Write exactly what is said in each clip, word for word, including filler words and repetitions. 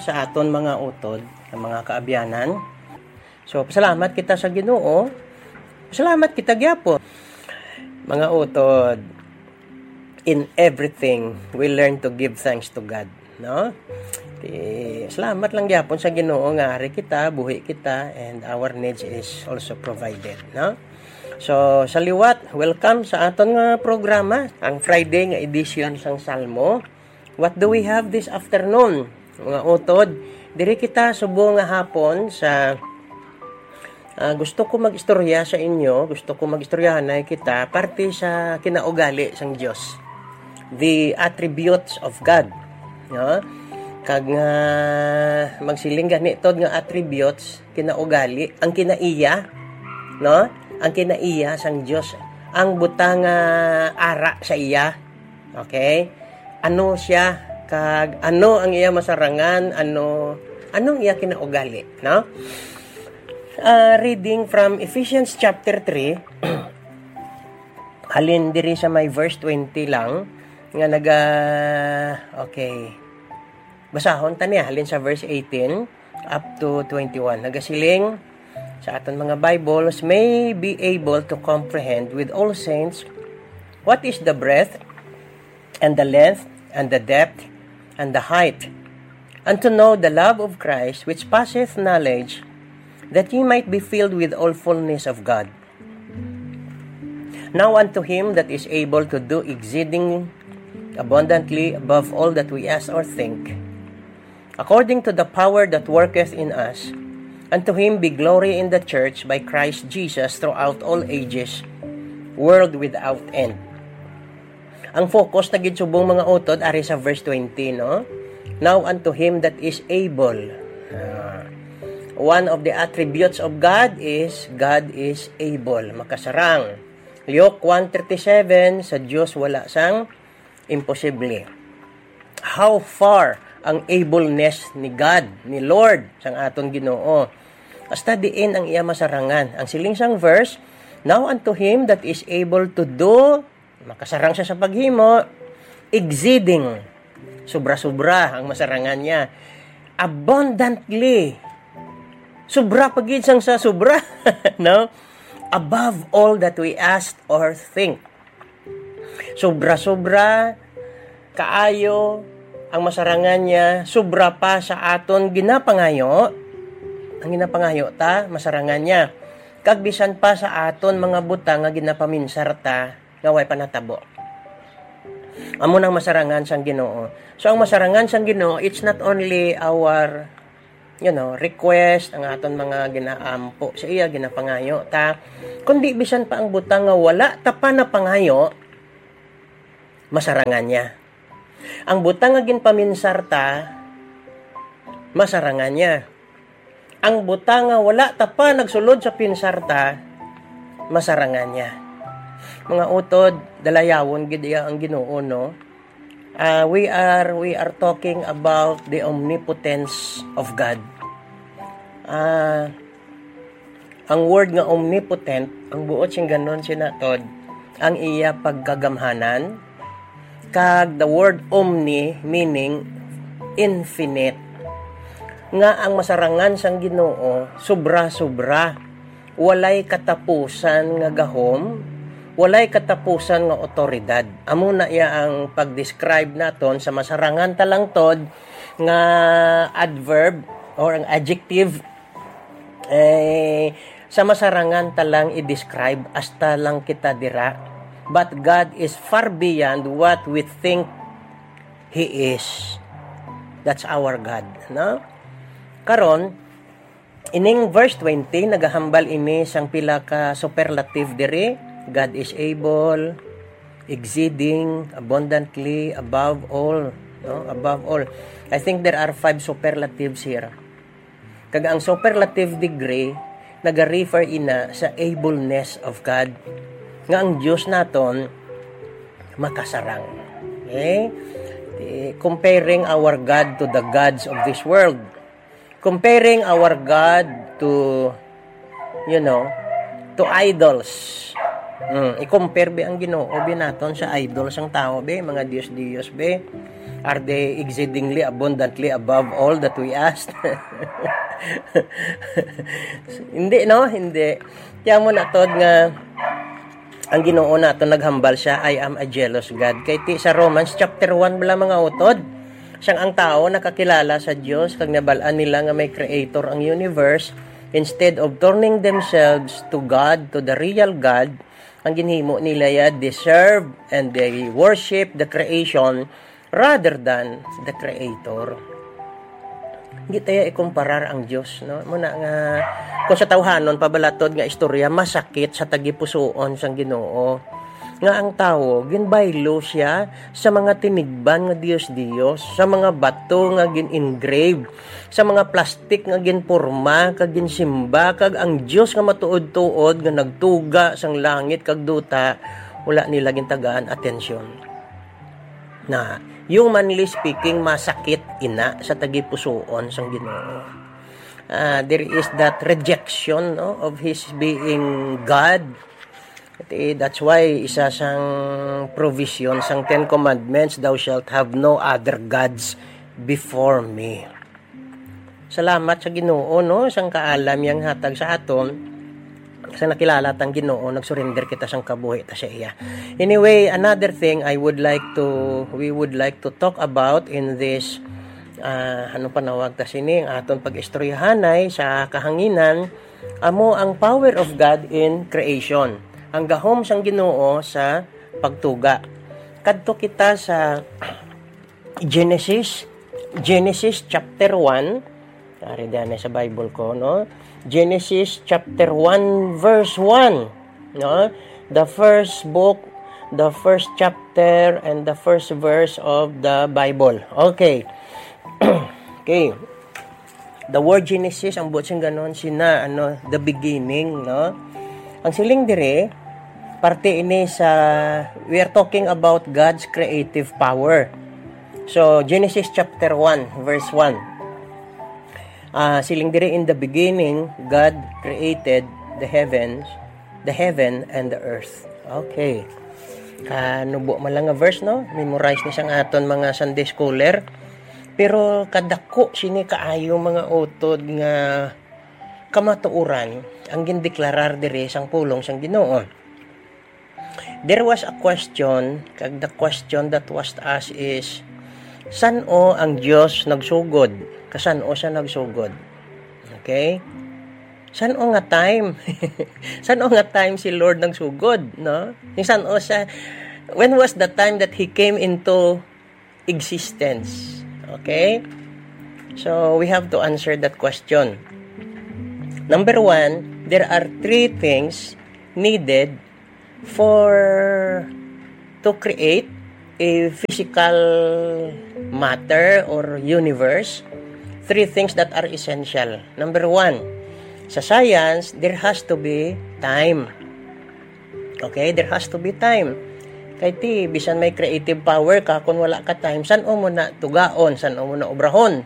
sa aton mga utod, ang mga kaabyanan. So, pasalamat kita sa Ginoo. Pasalamat kita gyapon. Mga utod, in everything, we learn to give thanks to God, no? Ti, salamat lang gyapon sa Ginoo nga ari kita, buhi kita, and our needs is also provided, no? So, sa liwat, welcome sa aton nga programa, ang Friday nga edition sang Salmo. What do we have this afternoon? Mga utod, diri kita subong nga hapon sa, ah, gusto ko mag-istorya sa inyo, gusto ko mag-istoryahanay kita parte sa kinaugali sang Dios. The attributes of God. No? Kag nga magsiling gani tod nga attributes, kinaugali, ang kinaiya, no? Ang kinaiya sang Dios, ang butang nga ara sa iya. Okay? Ano siya, kag ano ang iya masarangan, ano, anong iya kinaugali, no? Ah, reading from Ephesians chapter three, halin diri sa may verse twenty lang, nga naga, okay. Basahon ta niya, halin sa verse eighteen up to twenty-one. Nagasiling sa aton mga Bibles, "May be able to comprehend with all saints what is the breadth and the length and the depth and the height, and to know the love of Christ which passeth knowledge, that ye might be filled with all fullness of God." Now unto him that is able to do exceeding abundantly above all that we ask or think, according to the power that worketh in us, unto him be glory in the church by Christ Jesus throughout all ages, world without end. Ang focus na gid subong, mga utod, ari sa verse twenty, no? "Now unto him that is able." Ah, one of the attributes of God is God is able, makasarang. Luke one thirty-seven, sa Dios wala sang imposible. How far ang ableness ni God, ni Lord, sang aton Ginoo? Hasta diin ang iya masarangan? Ang siling sang verse, "Now unto him that is able to do," makasarang siya sa paghimo, "exceeding," sobra-sobra ang masarangan niya, "abundantly," sobra pa gid sang sa sobra, no? "Above all that we ask or think." Sobra-sobra kaayo ang masarangan niya, sobra pa sa aton ginapangayo. Ang ginapangayo ta, masarangan niya. Kag bisan pa sa aton mga butang nga ginapaminsar ta, nga way pa natabo. Amo nang masarangan sang Ginoo. So, ang masarangan sang Ginoo, it's not only our, you know, request, ang aton mga ginaampo sa iya, ginapangayo ta, kundi bisan pa ang butang nga wala ta pa napangayo, masarangan niya. Ang butang nga ginpaminsar ta, masarangan niya. Ang butang nga wala ta pa nagsulod sa pinsar ta, masarangan niya. Mga utod, dalayawon gid iya ang Ginoo, no? Ah, we are, we are talking about the omnipotence of God. Ah, ang word nga omnipotent, ang buot sing ganon sinatod, ang iya pagkagamhanan, kag the word omni, meaning infinite, nga ang masarangan sang Ginoo sobra-sobra, walay katapusan nga gahom, walay katapusan nga awtoridad. Amo na iya ang pag-describe naton sa masarangan ta lang tod nga adverb or ang adjective, eh, sa masarangan ta lang i-describe, hasta lang kita dira. But God is far beyond what we think He is. That's our God, no? Karon, ining verse twenty, nagahambal ini sang pila ka superlative diri. God is able, exceeding, abundantly, above all, no? Above all. I think there are five superlatives here. Kag ang superlative degree nagarefer ina sa ableness of God, nga ang Dios naton makasarang. Okay? Eh, comparing our God to the gods of this world. Comparing our God to, you know, to idols. Hmm, i-compare bi ang Ginoo bi naton sa idols sang tawo bi, mga dios-dios bi. Are they exceedingly abundantly above all that we asked? Hindi, no? Hindi. Kaya mo na, Tod, nga ang Ginoo nato naghambal siya, "I am a jealous God." Kay ti sa Romans chapter one bala, mga utod, sang ang tawo nakakilala sa Dios kag nabal-an nila nga may creator ang universe, instead of turning themselves to God, to the real God, ang ginhimo nila ya deserve, and they worship the creation rather than the creator. Hindi tayo ikumparar ang Dios, no? Muna nga, kung sa tawhanon, pabalatod nga istorya, masakit sa tagipusuon sang Ginoo. Nga ang tawo, ginbaylo siya sa mga tinigban nga Dios-Dios, sa mga bato nga gin-engrave, sa mga plastic nga ginporma kag ginsimba, kag ang Dios nga matuod-tuod nga nagtuga sang langit kag duta, wala nila gintagaan atensyon. Na humanly speaking, masakit ina sa tagipusuon sang Ginoo. Ah, there is that rejection, no, of his being God. Ati, that's why isa sang provision sang Ten Commandments, "Thou shalt have no other gods before me." Salamat sa Ginoo, no, sang kaalam yang hatag sa aton. Sa nakilala tang Ginoo, nagsurrender kita sang kabuhi ta sa iya. Anyway, another thing I would like to, we would like to talk about in this, ah, ano panawag ta sini, ang aton pag-istoryahanay sa kahanginan, amo ang power of God in creation. Ang gahom sang Ginoo sa pagtuga. Kadto kita sa Genesis, Genesis chapter one. Ari diyan sa Bible ko, no? Genesis chapter one, verse one, no? The first book, the first chapter, and the first verse of the Bible. Okay. Okay. The word Genesis, ang buot sing ganon, sina, ano, the beginning, no? Ang siling dire, parte ini sa, we are talking about God's creative power. So, Genesis chapter one, verse one. Ah, siling dire, "In the beginning, God created the heavens, the heaven and the earth." Okay. Kanubo man lang nga verse, no? Memorize ni sang aton mga Sunday schooler. Pero kadako sini kaayo, mga utod, nga kamatuoran ang gindeklarar diri sang pulong sang Ginoo. There was a question, kag the question that was asked is, san-o ang Dios nagsugod? Kasan-o siya nagsugod? Okay? San-o nga time? San-o nga time si Lord nagsugod, no? Yung san-o siya, when was the time that He came into existence? Okay? So, we have to answer that question. Number one, there are three things needed for to create a physical matter or universe. Three things that are essential. Number one, sa science, there has to be time. Okay, there has to be time. Kay ti, bisan may creative power ka, kung wala ka time, san-o mo na tugaon, san-o mo na obrahon?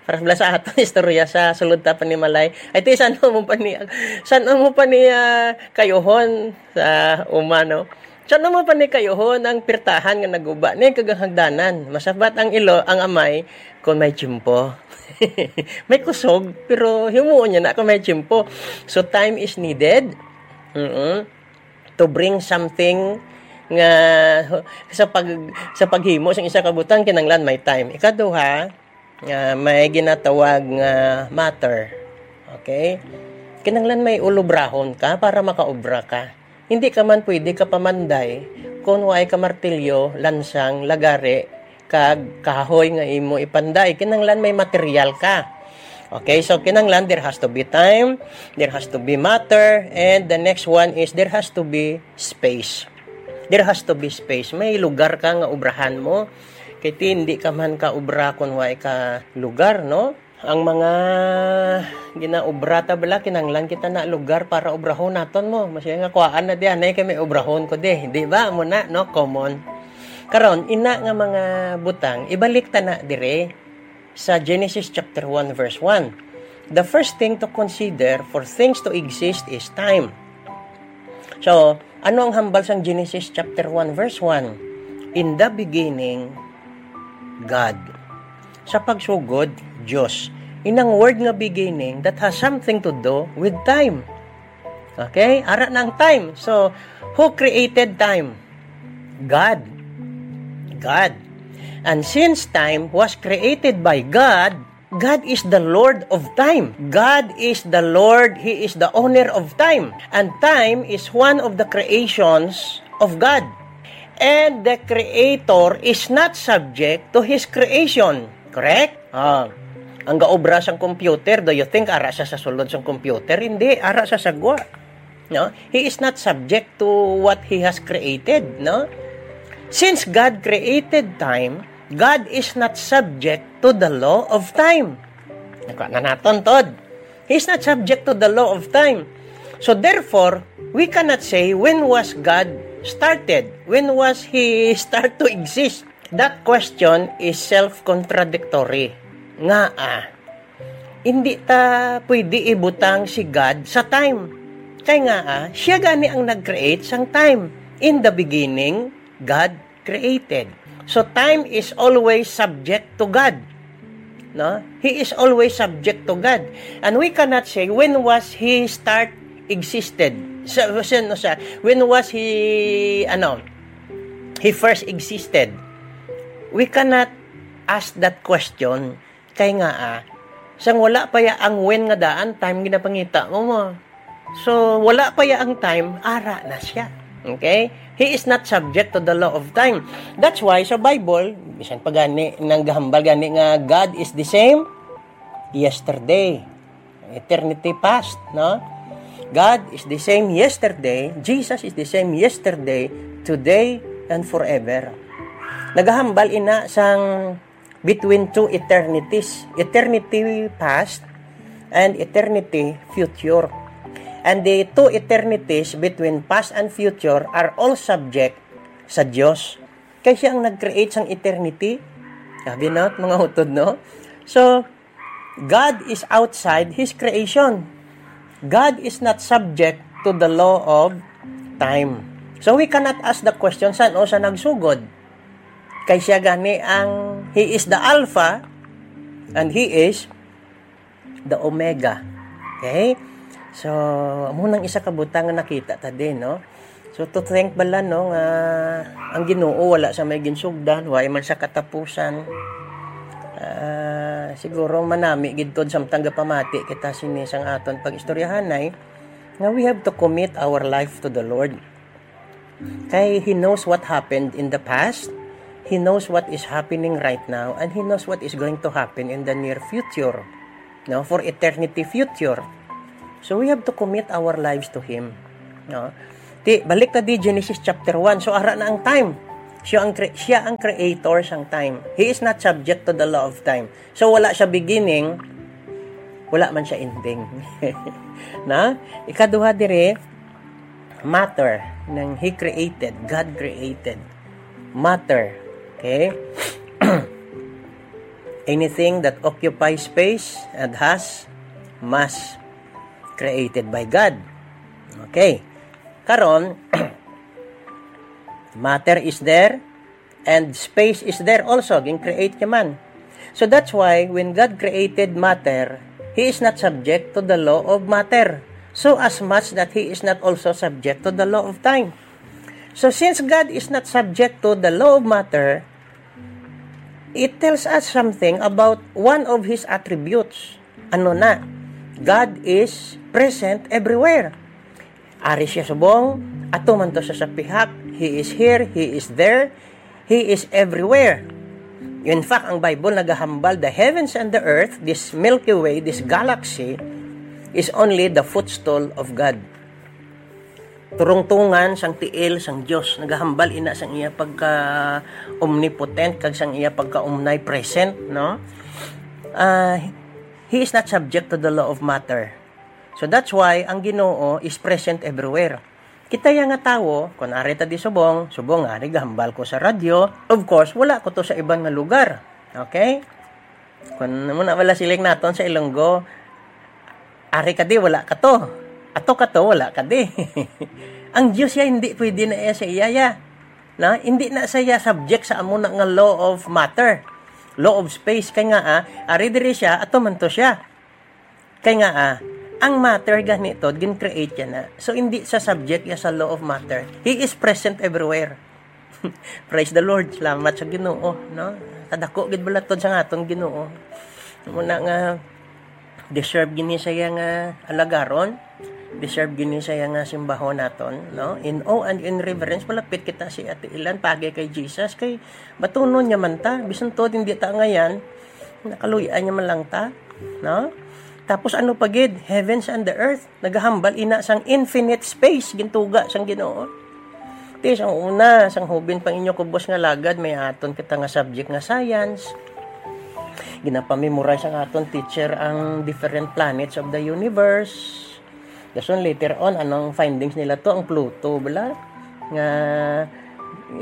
Para bala sa aton istorya sa sulod ta panimalay. Ay, ti, san-o mo pa ni, san-o mo pa ni, ah, kayuhon sa uma, no? San-o mo pa ni kayuhon ang pirtahan nga naguba ni kag ang hagdanan? Masabat ang ilo, ang amay, kung may tiyempo. May kusog, pero himuon niya na kung may tiyempo. So, time is needed. Mm-mm. To bring something nga sa pag, sa paghimo sang isa ka butang, kinahanglan may time. Ikaduha, nga may ginatawag nga matter. Okay? Kinahanglan may ulubrahon ka para makaobra ka. Hindi ka man pwede kapamanday kung waay ka martilyo, lansang, lagari, kag kahoy nga imo ipanday. Kinahanglan may material ka. Okay, so kinahanglan there has to be time, there has to be matter, and the next one is there has to be space. There has to be space. May lugar ka nga obrahan mo. Kay ti, hindi ka man ka obra kung waay ka lugar, no? Ang mga ginaobra ta bala, kinahanglan kita na lugar para obrahon naton mo. Masya nga kuhaan na di, anay kay may obrahon ko di. Di ba? Amo na, no? Common. Karon, ina nga mga butang, ibalik ta na dire sa Genesis chapter one, verse one. The first thing to consider for things to exist is time. So, ano ang hambal sang Genesis chapter one, verse one? In the beginning, God. Sa pagsugod, Dios. Inang word nga beginning that has something to do with time. Okay? Ara na ang time. So, who created time? God. God. And since time was created by God, God is the Lord of time. God is the Lord. He is the owner of time. And time is one of the creations of God. And the Creator is not subject to His creation. Correct? Ah, ang gaobra sang computer, do you think ara siya sa sulod sang computer? Hindi, ara siya sa gwa. No? He is not subject to what He has created, no? Since God created time, God is not subject to the law of time. Nakuha na naton, Tod. He is not subject to the law of time. So therefore, we cannot say, "When was God started? When was He start to exist?" That question is self-contradictory. Ngaa? Hindi ta pwede ibutang si God sa time. Kay ngaa, siya gani ang nag-create sang time. In the beginning, God created. So time is always subject to God. No? He is always subject to God. And we cannot say, "When was He start existed?" Sa, sa, sa, when was He, ano, He first existed? We cannot ask that question. Kay nga, ah, sang wala pa ya ang when nga daan, time ginapangita mo mo. So, wala pa ya ang time, ara na siya. Okay? He is not subject to the law of time. That's why sa Bible, bisan pa gani, nanggahambal gani nga God is the same yesterday, eternity past, no? God is the same yesterday, Jesus is the same yesterday, today, and forever. Nagahambal ina sang between two eternities, eternity past and eternity future. And the two eternities between past and future are all subject sa Dios. Kay siya ang nag-create sang eternity. Sabi na, mga utod, no? So, God is outside His creation. God is not subject to the law of time. So, we cannot ask the question, "San-o siya nagsugod?" Kay siya gani ang, He is the Alpha and He is the Omega. Okay? So, amo nang isa ka butang nga nakita ta din, no? So, to think bala, no, nga ang Ginoo wala sa may ginsugdan, wala man sa katapusan. Ah, siguro manami gid tod samtang gapamati kita sini sang aton pag-istoryahanay, nga we have to commit our life to the Lord. Kay He knows what happened in the past, He knows what is happening right now, and He knows what is going to happen in the near future. No, for eternity future. So we have to commit our lives to Him. No? Ti, balik ta di Genesis chapter one. So, ara na ang time. Siya ang cre-, siya ang creator sang time. He is not subject to the law of time. So, wala siya beginning, wala man siya ending. Na? Ikaduha diri, matter, nang He created, God created. Matter. Okay? Anything that occupies space and has mass, created by God. Okay. Karon, matter is there and space is there also. Gin-create niya man. So that's why when God created matter, He is not subject to the law of matter. So as much that He is not also subject to the law of time. So since God is not subject to the law of matter, it tells us something about one of His attributes. Ano na? God is present everywhere. Ari siya subong, ato man to sa, sa pihak. He is here, He is there, He is everywhere. In fact, ang Bible nagahambal, the heavens and the earth, this Milky Way, this galaxy, is only the footstool of God. Turungtungan sang tiil sang Dios, nagahambal ina sang iya pagka-omnipotent kag sang iya pagka-omnipresent, no? Ah, he is not subject to the law of matter. So that's why ang Ginoo is present everywhere. Kita ya nga tawo, kun ari ta di subong, subong ari gahambal ko sa radyo. Of course, wala ko to sa iban nga lugar. Okay? Kun muna wala siling naton sa Ilonggo, ari ka di, wala ka to. Ato ka to, wala ka di. Ang Dios ya, hindi pwede na iya sa iya ya. Na, hindi na siya subject sa amo na nga law of matter. law of space. Kay nga, ah, ari diri siya, ato man to siya. Kay nga, ah, ang matter gani to, gin-create niya na. So, hindi sa subject ya sa law of matter. He is present everywhere. Praise the Lord. Salamat sa Ginoo, no? Kadako gid balatod sa aton Ginoo. Muna nga, deserve gini siya nga alagaron. Deserve gini siya nga simbahon naton, no? In awe and in reverence, malapit kita sa iya tiilan, pagi kay Jesus, kay batunon niya man ta, bisan tuod hindi ta angayan, nakaluy-an niya man lang ta, no? Tapos ano pa gid, heavens and the earth, nagahambal ina sang infinite space, gintuga sang Ginoo. Ti, sang una, sang hubin pang inyo kubos nga lagad, may aton kita nga subject nga science. Ginapamemorize ang aton teacher ang different planets of the universe. Dason later on, anong findings nila to? Ang Pluto, bala? Nga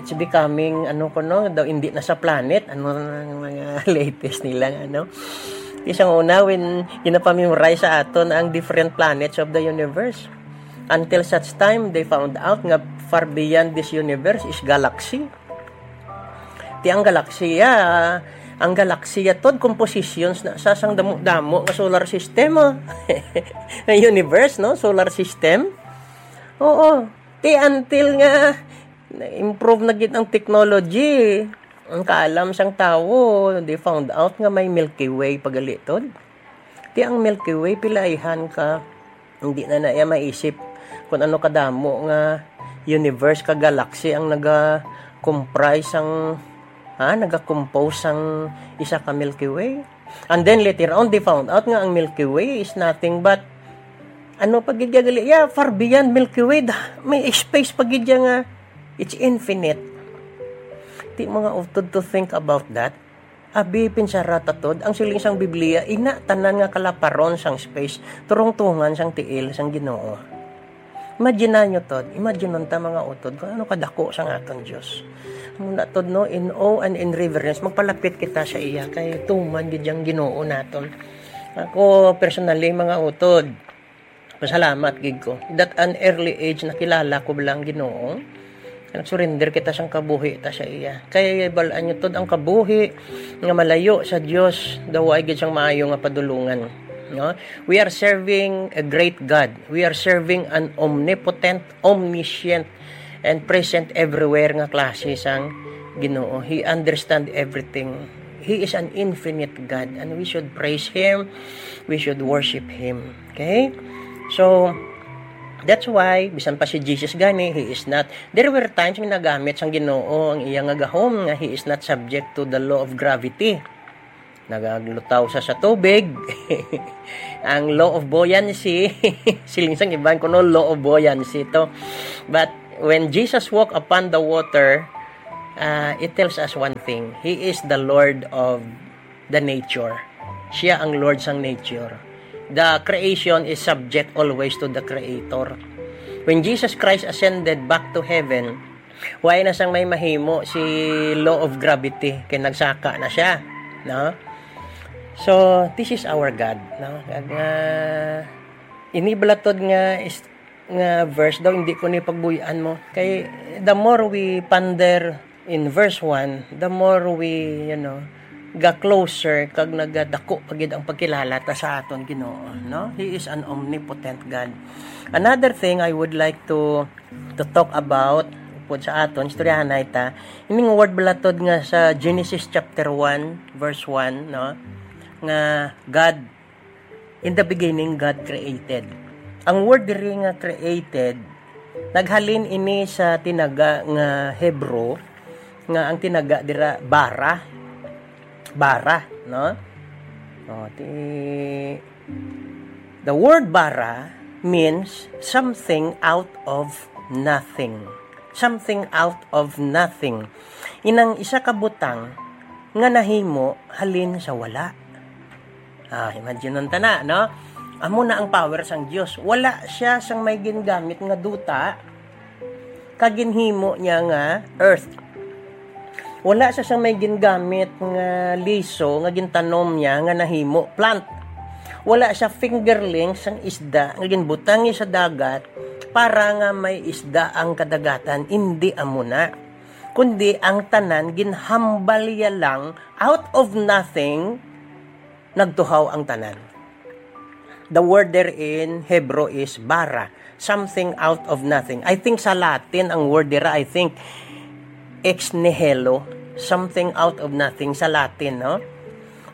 it's becoming, ano ko no, daw hindi na sa planet, ano ang mga latest nila, ano? Ti, sang una, when ginapamemorize sa aton ang different planets of the universe. Until such time, they found out nga far beyond this universe is galaxy. Ti ang galaksiya, ang galaksiya to, compositions na sa sang damo-damo nga solar system, oh. Nga universe, no? Solar system. Oo. Ti until nga na-improve na gid ang technology, ang kaalam sang tawo, they found out nga may Milky Way pagalitod. Ti ang Milky Way, pilaihan ka. Hindi na na iya maisip kung ano kadamo nga universe ka galaxy ang naga-comprise sang, ha, naga-compose sang isa ka Milky Way. And then later on, they found out nga ang Milky Way is nothing but, ano pa gid ya gali? Yeah, far beyond Milky Way. Da-, may space pa gid ya nga it's infinite. Ti mga utod to think about that. Abi, pinsara ta, tod, ang siling sang Biblia, ina tanan nga kalaparon sang space, turungtungan sang tiil sang Ginoo. Imagine nyo, tod, imagine ta, mga utod, kung ano kadako sang aton Dios. Muna, tod, no, in awe and in reverence, magpalapit kita sa iya, kay tuman gid yang Ginoo naton. Ako, personally, mga utod, pasalamat gid ko that an early age nakilala ko bala ang Ginoo. Nag-surrender kita sang kabuhi ta sa iya. Kay bal-an nyo, tod, ang kabuhi nga malayo sa Dios, daw ay gid sang maayo nga padulungan. No? We are serving a great God. We are serving an omnipotent, omniscient, and present everywhere nga klase sang Ginoo. He understand everything. He is an infinite God, and we should praise Him. We should worship Him. Okay? So, that's why, bisan pa si Jesus gani, he is not, there were times nga nagamit sang Ginoo ang iya nga gahom nga he is not subject to the law of gravity. Nagaglutaw sa, sa tubig. Ang law of buoyancy, siling sang iban kuno, law of buoyancy to. But when Jesus walk upon the water, uh, it tells us one thing. He is the Lord of the nature. Siya ang Lord sang nature. The creation is subject always to the Creator. When Jesus Christ ascended back to heaven, wala na sang may mahimo si law of gravity, kay nagsaka na siya, no? So, this is our God, no? Kag, ah, ini balatod nga is-, nga verse daw, hindi ko ni pagbuy-an mo. Kay the more we ponder in verse one, the more we, you know, ga closer kag nagadako pa gid ang pagkilala ta sa aton Ginoo, no? He is an omnipotent God. Another thing I would like to, to talk about, pud sa aton, istoryahanay ta, ining word balatod nga sa Genesis chapter one, verse one, no? Nga God In the beginning, God created. Ang word diri nga created, naghalin ini sa tinaga nga Hebrew, nga ang tinaga dira bara. Bara, no? O, ti-, the word bara means something out of nothing. Something out of nothing. Inang isa ka butang nga nahimo halin sa wala. Ah, imagine ta na, no? Amo na ang power sang Dios. Wala siya sang may gingamit nga duta, kag ginhimo niya nga earth. Wala siya sang may gingamit nga liso nga gintanom niya nga nahimo plant. Wala siya fingerling sang isda nga ginbutang niya sa dagat para nga may isda ang kadagatan. Indi amo na. kundi ang tanan ginhambal niya lang, out of nothing, nagtuhaw ang tanan. The word there in Hebrew is bara, something out of nothing. I think sa Latin ang word dira, I think, ex nihilo, something out of nothing sa Latin, no?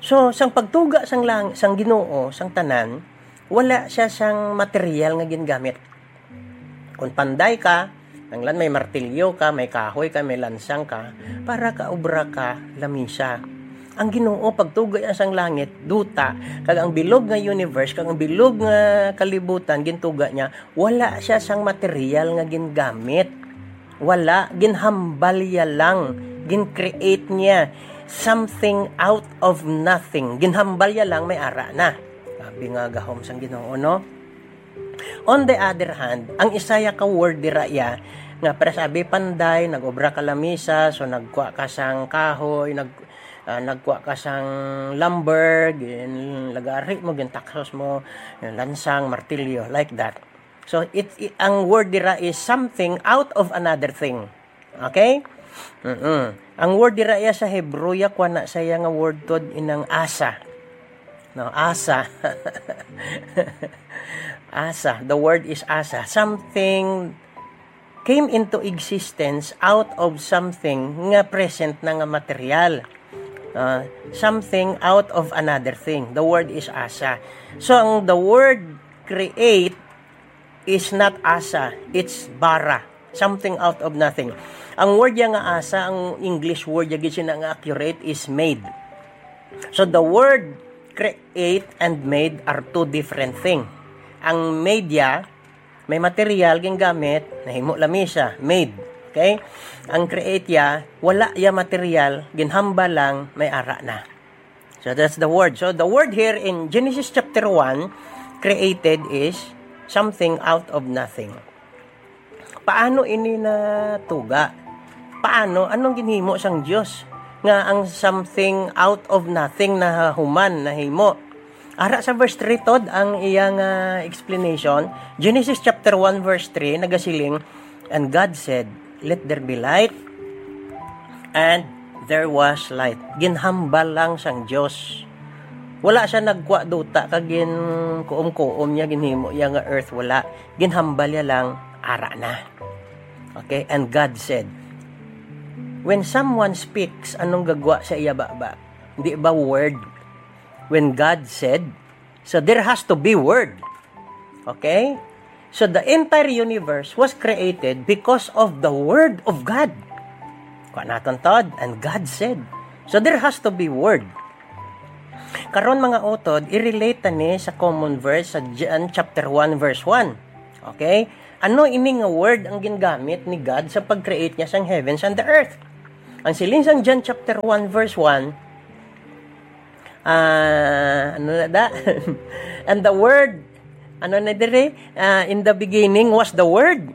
So, sang pagtuga sang lang, sang Ginoo, sang tanan, wala siya sang material nga gingamit. Kung panday ka, nanglan may martilyo ka, may kahoy ka, may lansang ka, para kaobra ka lamisa. Ang Ginoo pagtuga niya sang langit, duta, kag ang bilog nga universe, kag ang bilog nga kalibutan, gintuga niya, wala siya sang material nga gingamit. Wala, ginhambal niya lang, gin-create niya something out of nothing. Ginhambal niya lang, may ara na. Grabe nga gahom sang Ginoo, no? On the other hand, ang Isaiah ka word dira iya, nga para sabi panday, nag-obra ka lamisa, so nagkuha ka sang kahoy, nag, ah, nagkuha ka sang lumber, ginlagari mo, gintaksos mo, lansang, martilyo, like that. So, it, it, ang word dira is something out of another thing. Okay? Mm-mm. Ang word dira iya sa Hebrew, ya, kuha na sa iya nga word tod inang asa. No, asa. Asa. The word is asa. Something came into existence out of something nga present na nga material. Ah, something out of another thing. The word is asa. So, ang the word create is not asa, it's bara. Something out of nothing. Ang word ya nga asa, ang English word ya gid sina nga accurate is made. So the word create and made are two different thing. Ang made ya, may material gingamit, nahimo lamisa, made. Okay? Ang create ya, wala ya material, ginhambal lang, may ara na. So that's the word. So the word here in Genesis chapter one, created, is something out of nothing. Paano ini natuga? Paano? Anong ginhimo sang Dios nga ang something out of nothing nahuman, nahimo? Ara sa verse three tod ang iya nga explanation. Genesis chapter one verse three nagasiling, "And God said, 'Let there be light,' and there was light." Ginhambal lang sang Dios. Wala siya nagkuha duta kag gin kuom-kuom niya, ginhimo iya nga earth, wala. Ginhambal niya lang, ara na. Okay, and God said, when someone speaks, anong gagwa sa iya baba? Di ba word? When God said, so there has to be word. Okay? So the entire universe was created because of the word of God. Kuha naton tod, and God said. So there has to be word. Karon, mga utod, i-relate ta ni sa common verse sa John chapter one verse one. Okay? Ano ini nga word ang gingamit ni God sa pag-create niya sang heavens and the earth? Ang siling sang John chapter one verse one, ah, ano na da? And the word, ano na dire? Ah, "In the beginning was the Word."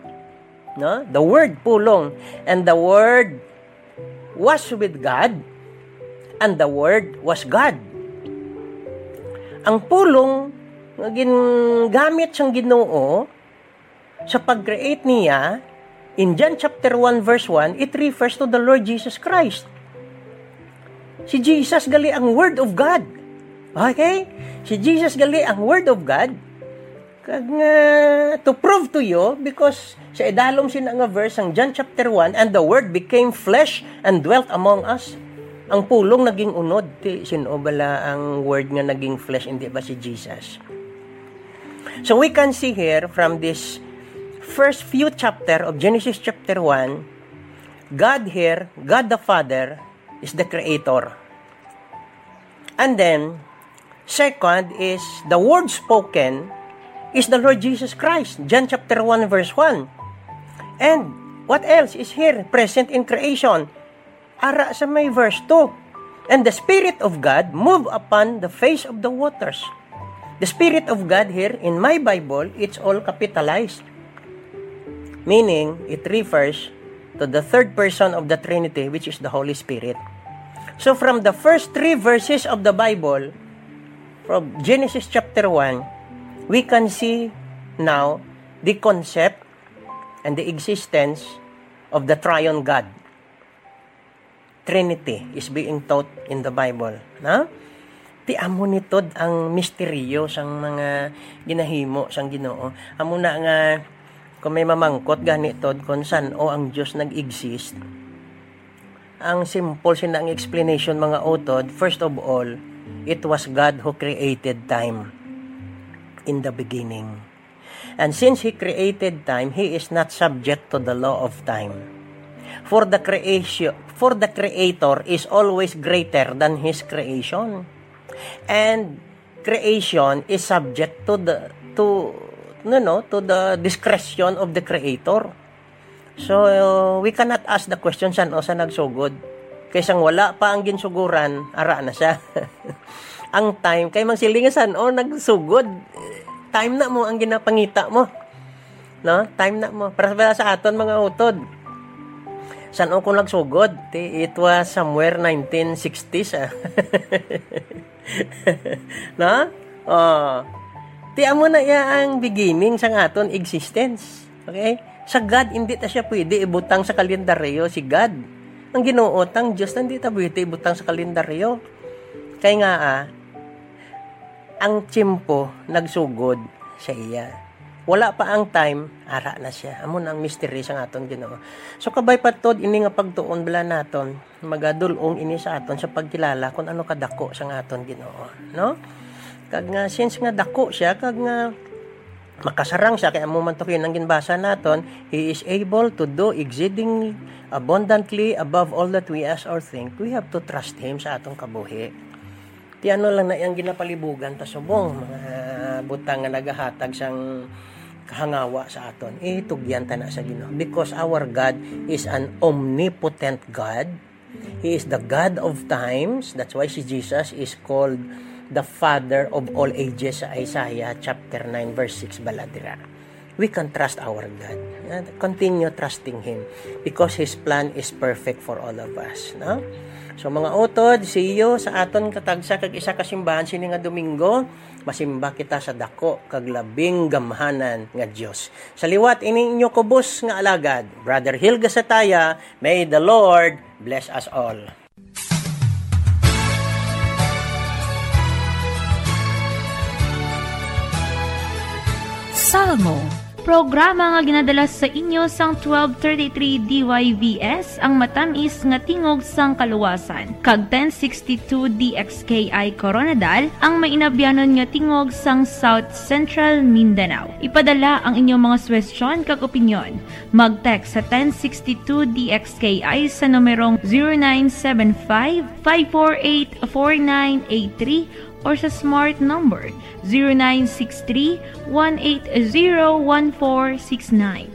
No? The Word, pulong. "And the Word was with God, and the Word was God." Ang pulong nga gingamit sang Ginoo sa pag-create niya, in John chapter one verse one, it refers to the Lord Jesus Christ. Si Jesus gali ang Word of God. Okay? Si Jesus gali ang Word of God. Kag nga, to prove to you, because sa idalom sina nga verse ang John chapter one, "And the Word became flesh and dwelt among us." Ang pulong naging unod. Ti, sin-o bala ang Word nga naging flesh, hindi ba si Jesus? So we can see here from this first few chapter of Genesis chapter one, God here, God the Father, is the creator. And then, second is the word spoken is the Lord Jesus Christ, John chapter one verse one. And what else is here present in creation? Ara sa may verse two, "And the Spirit of God moved upon the face of the waters." The Spirit of God here, in my Bible, it's all capitalized. Meaning, it refers to the third person of the Trinity, which is the Holy Spirit. So, from the first three verses of the Bible, from Genesis chapter one, we can see now the concept and the existence of the triune God. Trinity is being taught in the Bible, no? Ti amo ni tod ang misteryo sang mga ginahimo sang Ginoo. Amo na nga, kung may mamangkot gani tod kung san-o ang Dios nag-exist, ang simple sina ang explanation, mga utod, first of all, it was God who created time in the beginning. And since He created time, He is not subject to the law of time. For the creation, for the Creator is always greater than His creation. And creation is subject to the, to, no, no, to the discretion of the Creator. So, we cannot ask the question, san-o sa nagsugod? Kay sang wala pa ang ginsuguran, ara na siya. Ang time, kay mang siling nga san-o nagsugod, time na mo ang ginapangita mo. No? Time na mo. Para sa, sa aton, mga utod, san-o ko nagsugod? Ti, it was somewhere nineteen sixties, ah. No? Oh. Ti amo na iya ang beginning sang aton existence. Okay? Sa God, hindi ta siya pwede ibutang sa kalendaryo, si God. Ang Ginoo, tang Dios, hindi ta pwede ibutang sa kalendaryo. Kay nga, ah, ang tiyempo nagsugod sa iya. Wala pa ang time, ara na siya. Amo na ang mystery sang aton Ginoo. So, kabay pa tod ini nga pagtuon bala naton, magadul-ong ini sa aton sa pagkilala kung ano kadako sang aton Ginoo, no? Kag nga, since nga dako siya, kag nga makasarang siya, kay amo man to kayo nang ginbasa naton, He is able to do exceedingly abundantly above all that we ask or think. We have to trust Him sa atong kabuhi. Ti ano lang na iyang ginapalibugan ta subong, mga butang nga nagahatag sang kahangawa sa aton. Itugyan ta na sa Ginoo. Because our God is an omnipotent God. He is the God of times. That's why si Jesus is called the Father of all ages sa Isaiah chapter nine, verse six, bala dira. We can trust our God. Uh, continue trusting Him because His plan is perfect for all of us, no? So, mga utod, see you sa aton katagsa kag isa ka simbahan sini nga Domingo. Masimba kita sa dako kag labing gamhanan nga Dios. Sa liwat ini inyo kubos nga alagad, Brother Hilga Sataya, may the Lord bless us all. Salmo, programa nga ginadala sa inyo sang twelve thirty-three D Y V S, ang matamis nga tingog sang kaluwasan, kag ten sixty-two D X K I Koronadal, ang mainabyanon nga tingog sang South Central Mindanao. Ipadala ang inyong mga suwestyon kag opinyon. Mag-text sa ten sixty-two D X K I sa numerong zero nine seven five, five four eight, four nine eight three or sa smart number zero nine six three, one eight zero, one four six nine.